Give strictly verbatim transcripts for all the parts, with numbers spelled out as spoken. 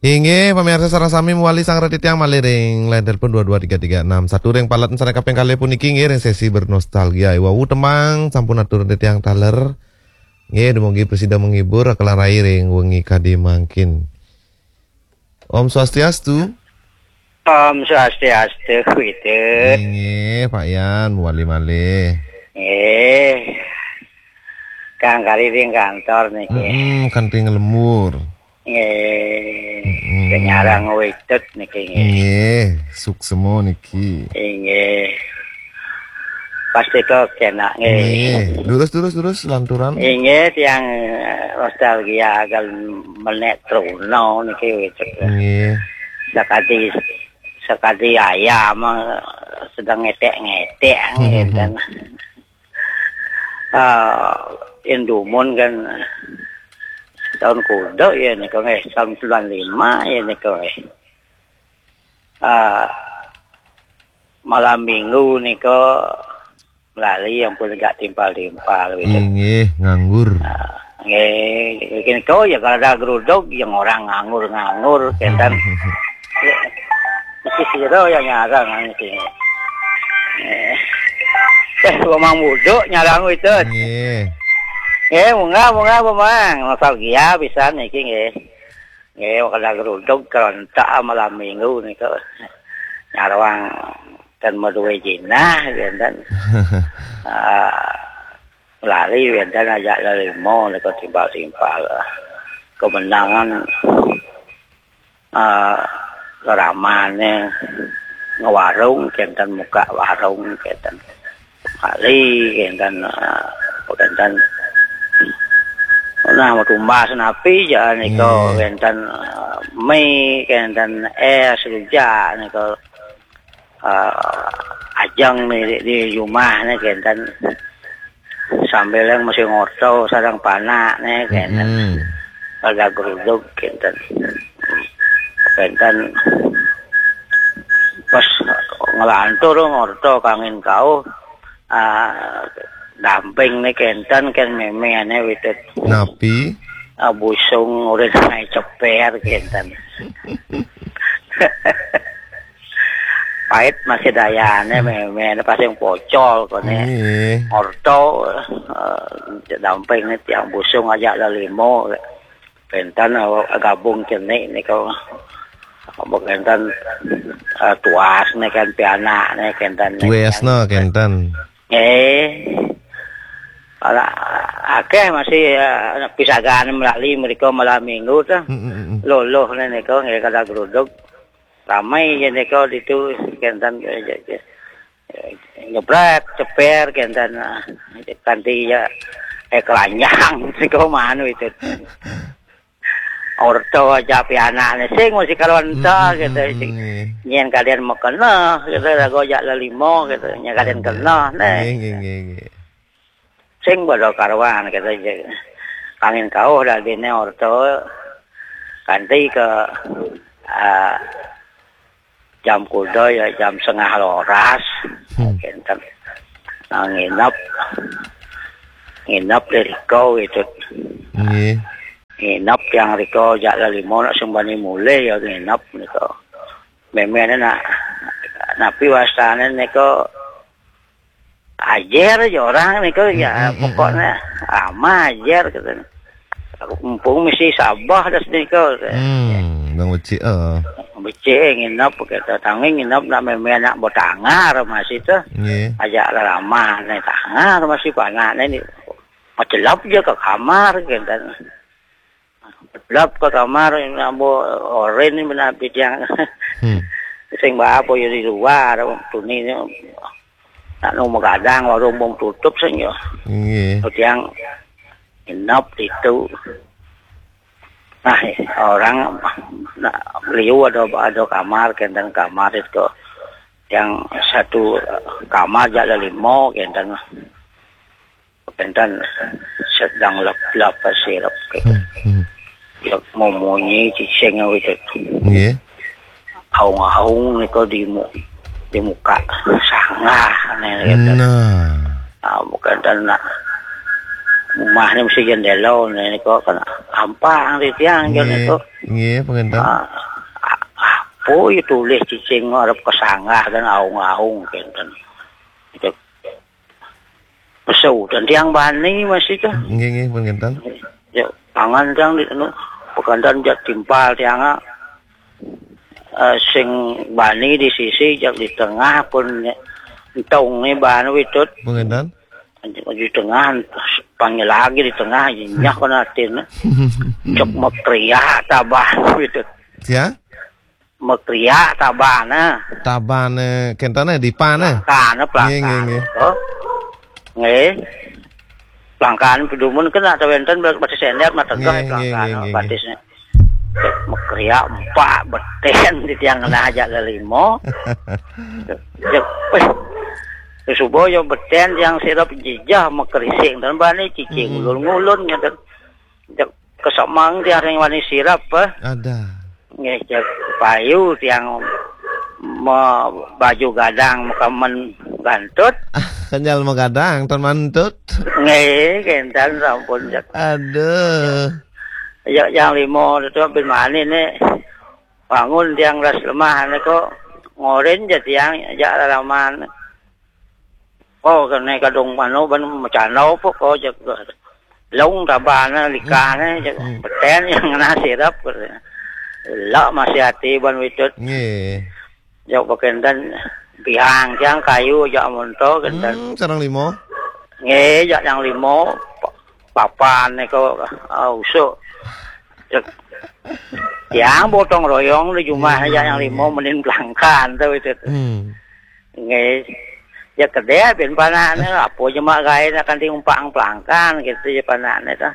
Inggih, pamirsa sareng sami mewali sareng titiang malih ring line telepon dua dua tiga tiga enam satu ring palet sareng kaping kalih puniki inggih ring sesi bernostalgia. Iwau tembang sampun atur titiang taler. Nggih, dumugi prasida menghibur, kalarai ring wengi kadi mangkin. Om Swastiastu. Om Swastiastu, Widut. Inggih, Pak Yan, mewali malih. Nggih. Kang kari ring kantor niki. Mm-mm, kanthi nglembur. Nggih. Mm-mm. Sing nyarang Widut niki nggih. Nggih, suksema niki. Inggih. Pasti kok enak nggih. Nggih. Durus, durus, durus, lanturan. Inggih, tiang, eh, nostalgia agal menek Truna niki Widut. Nggih. Sakadi, sakadi ayam, eh, sedang ngetek-ngetek, nggih, kan. Ah, indumun kan tahun kuda ya nika nggih, tahun sembilan lima ya nika nggih. Ah, malam minggu nika lali yang pun gak timpal-timpal gitu. Inggih, nganggur. Ah, nggih, mungkin kau ya kalau ada geruduk yang orang nganggur-nganggur, kenten. Ya, mesti sira yang nyarang niki. Eh, eh, Mamang Buduk nyarang itu. Nggih. Nggih, munggah, munggah, Mamang. Nostalgia pisan niki nggih. Nggih, kalau geruduk kerontak malam minggu nika. Nyarang ten madue jinah, kenten. Ah, lali wenten aja lelimo nika timpal-timpal. Kemenangan, ah, ramane ngewarung, kenten muka warung, kenten. Kali, kenten, ah, kenten. Nah, mau tumbas napi, ja nika, nggih, kenten, ah, mie, kenten es, rujak, nika. Ah, ajeng ni di, di rumah ni kenten. Sambil yang masih ngorto, sareng panak ni kenten. Mm-mm. Ada geruduk kenten. Kenten pas ngelantur ngorto kangin kau, ah, damping ni kenten kan meme ane Widut. Napi? Ah, busung udah naik ceper kenten. Pait masih dayane, meme pas yang pocol kone. Nggih. Orto, eh, damping ni tiang busung aja lelimo. Kenten, eh, gabung cenik nika. Kenten, eh, tuas ni kan pianak ni kenten ni. Tuas ni kenten. Eh. Ala akeh masih, eh, pisagan melali mereka malam minggu tu. Mm, mm, mm, mm. Loloh ni nika nggih kada geruduk. Ramai je nika ditu kenten, eh, je, je. Eh, nyebrek, ceper kenten, ah, kanti ya, eh, kelanjang siko manu itu. Orto aja pianakne sing mesti kalau enta gitu, sing nyen kalian mekena gitu, lagu aja lelimo gitu, nyen kalian kena, neh. Nggih, nggih, nggih, nggih. Sing pada karuan gitu, je. Kangin kauh dadine orto, kanti ke, ah, jam kuda ya jam setengah roras. Hmm. Kenten. Nah, nginep. Nginep di riko gitu. Nggih. Nginep yang riko jak lelimo nak sembani mulih ya nginep nika. Memene nak napi wastane nika ajer aja orang nika ya, mm, mm, mm, pokoknya ama ajer gitu. Mumpung mesti sabah das nika. Hmm, bang becik, eh. Becik nginep kata tangi nginep nak meme anak botangar masih tu. Nggih. Aja lama ni tangar masih panak ni. Macelap je ke kamar kata. Lap ke kamar, ambo oren ni benar pidiang. Hmm. Sing ba apa ya di luar, tuni ni. Nak nu magadang, warung bom tutup saja. Nggih. Tiang inap itu. Nah, orang nak beliau ada, ada kamar, kenten kamar itu. Yang satu kamar jalan lima, kenten. Kenten sedang lap-lap sirap gitu. Hmm, hmm. Ya, memunyi cicing gitu. Nggih. Aung-aung nika di mu-, di muka sanggah nih gitu. Nah. Ah, bukan dan nak rumah ni mesti jendela ni nika kan ampang di tiang je. Nggih. Nika. Nggih, pun kinten. Ah, apa ya tulis cicing arep kesanggah dan aung-aung kinten. Cek pesu dan tiang bani masih tuh. Nggih, nggih, pun kinten. Ya, pangan tiang di anu, pekandan jak timpal tiang, ah. Eh, sing bani di sisi jak di tengah pun entong nih bahan witut. Pun kinten. Di tengah, panggil lagi di tengah, nyak kena atin. Cek mekriak tabah witut. Ya? Mekriak tabahna. Tabahna, kentana di pana. Pelangkana, nggih, nggih, pelangkana. Nggih. Oh. Nggih. Pelangkana pedumun kena atau wenten batis sender mah tegeh. Nggih, nggih, pelangkana nggih, nggih, nggih. Batisnya. Mekriak empat beten di tiang kena aja lelimo. Cek, eh, subuh yo beten tiang sirap jijah mekrising dan bani cicing, hmm, ngulun-ngulun ngeten. Cek kesemang tiang ring wani sirap, eh. Ada. Nggih, cek payu tiang me-, baju gadang mekamen gantut. Ah, kenyal megadang, tan mantut. Nggih, kentan sampun, cek. Aduh. Ya, yang limo itu bin mani nih. Bangun tiang ras lemah nih kok. Ngorin ja tiang, ja lalaman. Oh, kene kadung anu ban macana apa kok, cek. Long tabahna likahne, cek. Hmm. Beten yang kena sirap. Lah masih hati ban witut. Nggih. Jok pakenten biang tiang kayu jak monto kenten. Hmm, sareng limo. Nggih, jak yang limo, pa-, papan nika, ah, usuk. Cek. Tiang botong royong di jumah, hmm, jak yang limo menin pelangkan tu itu. Hmm. Nggih. Ya kedai bin panakne apa je mak gae nak kanti umpang pelangkan gitu je panakne tu.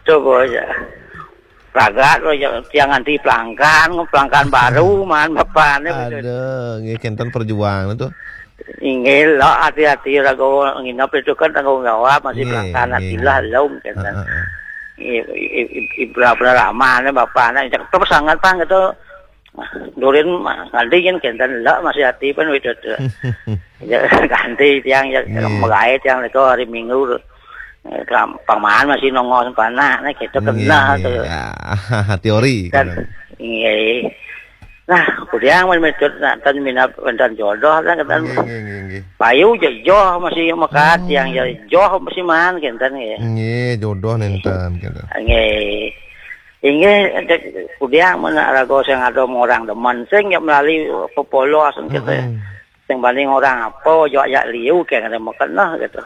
Coba aja. Ragat lo ya, tiang anti pelangkan, pelangkan baru man bapane betul. Aduh, nggih kenten perjuangan tu. Inggih lah, hati-hati raga nginep itu kan tanggung jawab, masih, nggih, pelangkan, nggih, hatilah nggih. Lom kenten. Heeh, heeh. Ibrah ramane bapane cek terus sangat pang gitu. Durin mah nganti yen kenten lah masih hati pun itu. Ya ganti tiang ya, hmm, megai tiang itu hari Minggu. Eh, pang-, paman masih nongol panah nih, kita kena. Nggih, tu. Ya, teori, kan. Nggih. Nah, kudiang men metut nak tan minap wonten jodoh kan, kan. Nggih, nggih, nggih, nggih. Payu je joh masih mekat, hmm, yang je joh masih man kenten nggih. Nggih, jodoh nenten gitu. Nggih. Inggih, cek kudiang mana raga sing ada orang demen sing ya melalui pepolos gitu. Mm-mm. Sing banding orang apa, jok jak liu kayak ada makan lah gitu.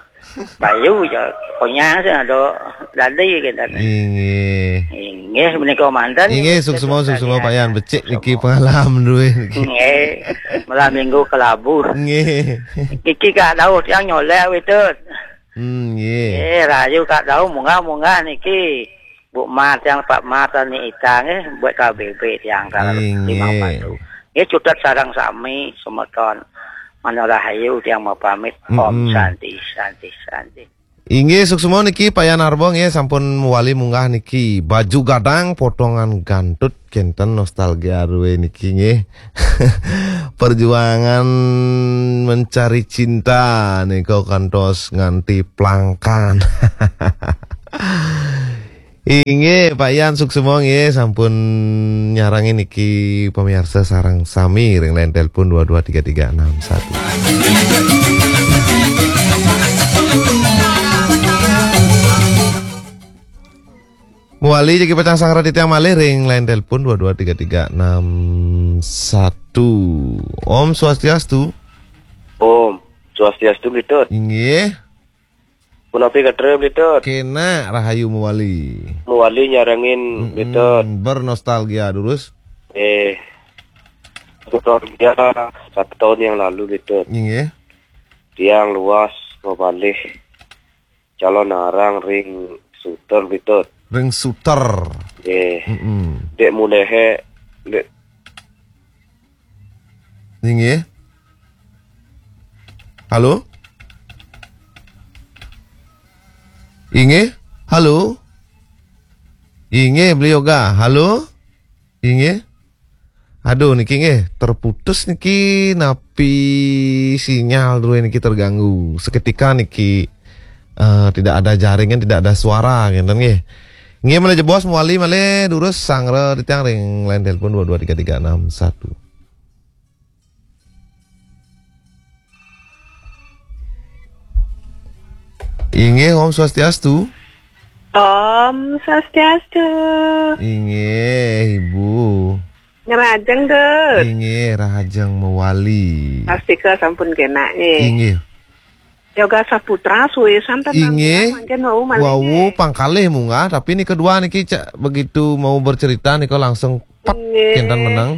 Bayu je konyang sing ada dadi gitu. Inggih. Inggih, menika manten. Inggih, suksma, suksma, Pak Yan. Becik niki pengalaman duwe niki. Nggih. Malam Minggu kelabu. Nggih. Niki Kak Daud yang nyolek witut. Hmm, nggih. Eh, rayu Kak Daud munggah-munggah niki. Bu Mat yang Pak Mat ni itang eh buat K B B tiang kalau, inggih, lima puluh. Nggih, cutet sareng sami semeton. Mana rahayu tiang mau pamit. Mm-mm. Om Santi, Santi, Santi. Inggih, suksma niki Pak Yan Arbo nggih sampun wali munggah niki. Baju gadang potongan gantut kenten nostalgia duwe niki nggih. Perjuangan mencari cinta nika kantos nganti plangkan. Inggih, Pak Yan suksma nggih sampun nyarangi niki pemirsa sareng sami ring line telepon dua dua tiga tiga enam satu. Muali jagi pacang sangrat titiang malih ring line telepon dua dua tiga tiga enam satu. Om Swastiastu. Om Swastiastu, Litut. Inggih. Punapi katra, Litut? Kena rahayu muali. Muali nyarengin, mm-mm, Litut. Bernostalgia durus. Eh, nostalgia satu tahun yang lalu, Litut. Inggih. Tiang luas mamalih calon arang ring Suter, Litut. Ring Suter. Nggih. Mm-mm. Dek mulehe, dek. Inggih. Halo? Inggih? Halo? Inggih, beliau ga. Halo? Inggih. Aduh, niki nggih, terputus niki, napi sinyal duwe niki terganggu. Seketika niki, eh, tidak ada jaringan, tidak ada suara, ngenten nggih. Nggih, malih jebos mawali malih durus sanggra titiang ring line telepon dua dua tiga tiga enam satu. Inggih, Om Swastiastu. Om Swastiastu. Inggih, Ibu. Ngrajeng, Dut. Inggih, rahajeng mawali. Pastika sampun kenak, nggih. Inggih. Yoga Saputra suwe santen. Inggih. Mangkin wau malih, wau nggih, pangkalih munggah, tapi nika dua niki cak begitu mau bercerita nika langsung pet, nggih, kenten meneng.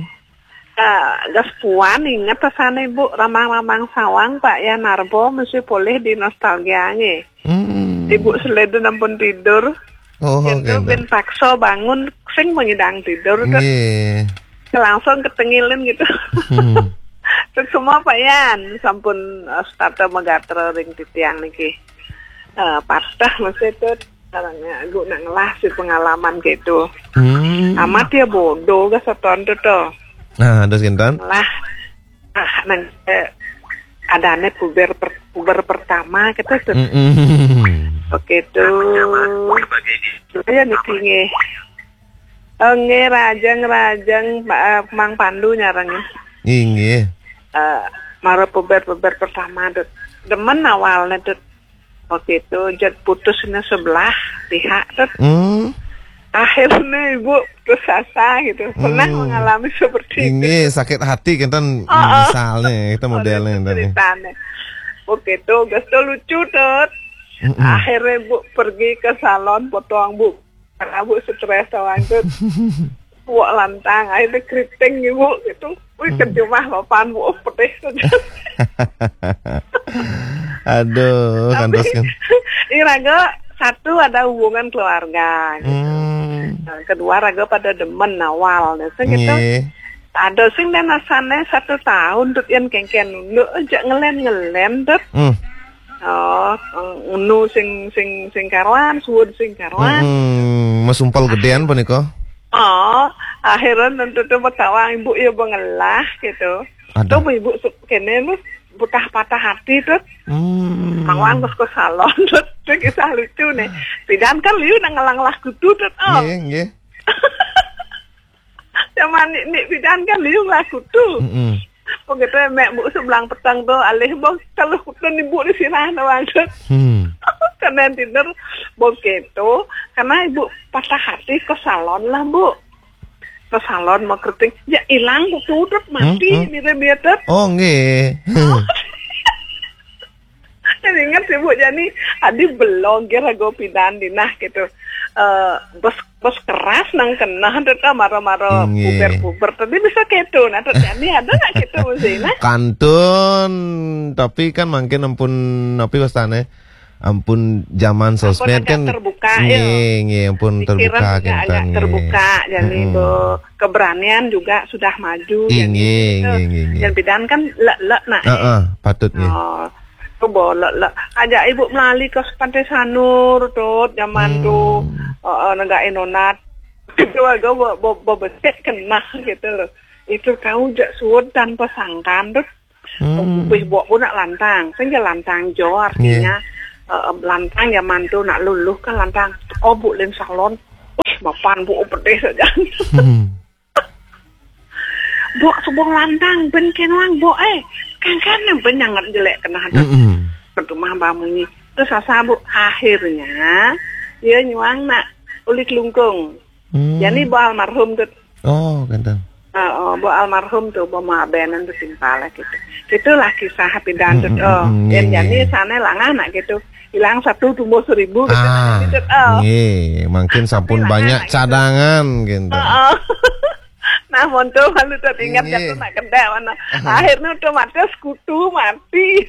Ah, gas puan inget pesane, Bu, ramang-ramang sawang, Pak Yan Narbo mesti polih di nostalgia, nggih. Hmm. Ibu seleden ampun tidur. Oh, kenten. Bin paksa bangun, sing mengidang tidur, Dut. Nggih. Langsung ketengilin gitu. Hmm. Terus semua Pak Yan, sampun, eh, setata megatra ring titiang niki. Eh, patah mesti, Dut. Sareng, eh, guna ngelah si pengalaman gitu. Hmm. Amat ya bodoh ga seton, Dut, to. Nah, terus kenten? Ngelah, ah, nang, eh, adane puber per-, puber pertama gitu, Dut. Mm-mm. Begitu. Saya niki, nggih. Oh, nggih, rahajeng, rahajeng, Ma-, eh, Mang Pandu nyarengin. Inggih. Eh, mara puber-puber pertama, Dut. Demen awalnya, Dut. Waktu itu, jad putusnya sebelah pihak, Dut. Hmm. Akhirnya ibu putus asa gitu. Pernah, hmm, mengalami seperti itu? Inggih, sakit hati kenten. Oh, oh. Misalnya, kita modelnya, oh, kenten, ya. Ceritanya. Waktu itu, gas to lucu, Dut. Mm-mm. Akhirnya ibu pergi ke salon potong, Bu. Karena Bu stres tawang, Dut. Wak lantang, akhirnya keriting ibu gitu. Wih, hmm, kejumah papan, Bu, pedih saja. Aduh, tapi kantos kan. Iraga satu ada hubungan keluarga gitu. Hmm. Nah, kedua raga pada demen awal gitu. Nggih. Ada sing dan asane satu tahun, Dut, yang kengken nunduk aja ngelen-ngelen, Dut. Hmm. Oh, unu sing, sing, sing karuan, suud sing karuan. Mm-mm. Masumpal gedean punika. Oh, akhirnya tentu tuh betawang ibu ya bengelah gitu. Ada. Tuh ibu su-, kene lu putah patah hati tuh. Hmm. Mawang terus ke salon tuh, tuh kisah lucu nih. Pidan kan liu nang ngelang lah kutu tuh. Oh. Nggih, nggih. Zaman ni, ni pidan kan liu lah kutu. Mm-mm. Begitu mek Bu sebelang petang tu, alih bang, kalau kutu ni Bu di sirah na bang. Hmm. Karena dinner begitu, karena ibu patah hati ke salon lah, Bu. Ke salon mau keriting, ya hilang kutu, Dut, mati, hmm, hmm, biar-biar, Dut. Oh, nggih. Jadi ingat sih, Bu, jadi adi belong kira go pidan dinah gitu. Eh, bos, bos keras nang kena, Dut, ah, mara-mara, nggih, puber-puber. Tadi bisa gitu. Nah, Dut, jadi ada nggak gitu mesti, nah? Kantun, tapi kan mungkin ampun, tapi wastane, ampun zaman sosmed kan terbuka, ya. Nggih, nggih, ampun terbuka, agak, kenten, agak nggih, terbuka, jadi, mm-mm, bo-, keberanian juga sudah maju, jadi nggih, gitu. Nggih, nggih, nggih. Dan pidan kan lek-lek nak, heeh, eh, patut, nggih. Oh, tu bo lek-lek. Aja ibu melali ke Pantai Sanur, Dut, zaman tu. Hmm. Heeh, negak inonat. Itu agak bo-, bo-, bo-, becek kena gitu loh. Itu kau jak suud tanpa sangkan, Dut. Hmm. Wis bok pun nak lantang, sing ke lantang jo artinya, nggih, eh, lantang zaman tu nak luluh kan lantang. Oh, Bu, ling salon. Wih, mapan Bu pedih saja. Hmm. Bok sebuah lantang, ben kenwang, Bok, eh. Kan, kan, ben nyangat jelek kena ada. Mm-mm. Pertumah bamunyi. Terus asa, Bu, akhirnya, dia nyuang nak ulik lungkung. Hmm. Jadi, Bu almarhum tu. Oh, kenten. Ah, oh, Bu almarhum tu, Bu mabenan tu simpal lah gitu. Itulah kisah pidan tu. Mm, mm, oh, mm, dan nggih, jadi nggih, sana langah nak gitu. Hilang satu tumbuh seribu gitu. Ah, gitu. Oh. Nggih, mungkin sampun tapi langah banyak nak gitu. Cadangan gitu. Oh, oh. Nah, monto malu tu ingat, nggih, jatuh nak kedai mana. Akhirnya otomatis kutu mati.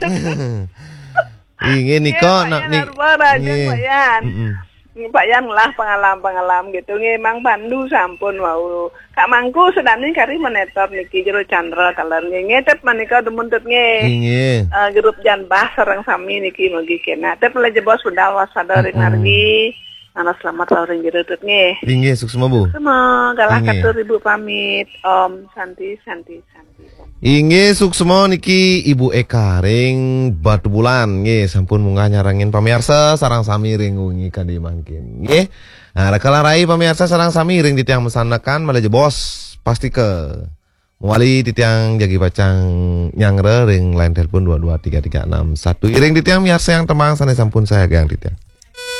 Inggih, nika, nggih, Pak nak Yan ni-, Narba, Raja, nggih, Pak Yan. Mm-mm. Pak Yan lah pengalam-pengalam gitu. Nggih, Mang Pandu sampun wau. Kak Mangku sedani kari monitor niki Jero Chandra taler nggih. Nggih, Dut, menika demen, Dut, nggih. Inggih. Eh, grup Jan Bah sareng sami niki mugi kena. Dut, mulai jebos budal waspada ring, mm-mm, margi. Ana selamat lauring Jero, Dut, nggih. Inggih, suksma, Bu. Suksma, galah, inggih, katur Ibu pamit. Om Santi, Santi, Santi. Inggih, suksma niki Ibu Eka ring Batubulan. Nggih, sampun munggah nyarengin pamiarsa sareng sami ring wengi kadi mangkin. Nggih. Nah, reka larai pamiarsa sareng sami iring titiang masandekan, malih jebos pasti ka mawali titiang jagi pacang nyanggra ring line telepon dua dua tiga tiga enam satu. Iring titiang miarsayang tembang sané sampun sayagang titiang.